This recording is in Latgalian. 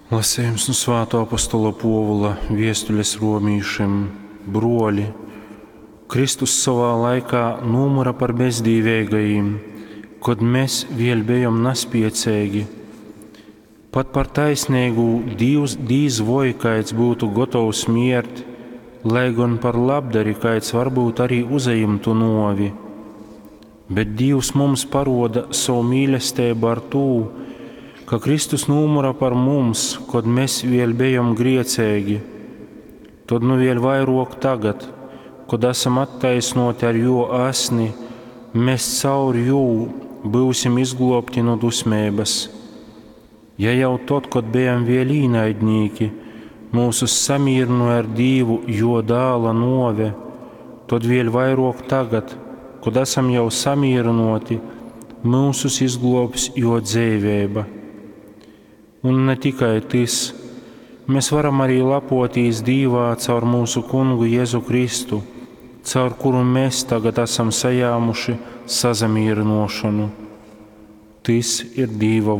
Lasejums nu svātō apostola Pōvula viestules romīšim. Brōli, Kristus sovā laikā nūmyra par bezdīveigajim, kod mes vēļ bejom naspieceigi. Pat par taisneigū Dīvs dīz voi kaids byutu gotovs miert, lai gon par labdari kaids varbyut arī uzajimtu nōvi. Bet Dīvs mums parōda sovu mīlesteibu ar tū, ka Kristus nūmyra par mums, kod mes vēļ bejom grieceigi. Tod nu vēļ vairōk tagad, kod asam attaisnōti ar jō asni, mes caur jū byusim izglōbti nu dusmeibas. Ja jau tod, kod bejam vēļ īnaidnīki, myusus samīrynōja ar Dīvu jō dāla nōve, tod vēļ vairōk tagad, kod asam jau samīrynōti, myusus izglōbs jō dzeiveiba. Un ne tikai tys, mes varam arī lepotīs Dīvā caur mūsu Kungu Jēzu Kristu, caur kuru mēs tagad esam sajāmuši sasamīrināšanu. Tys ir Dīva.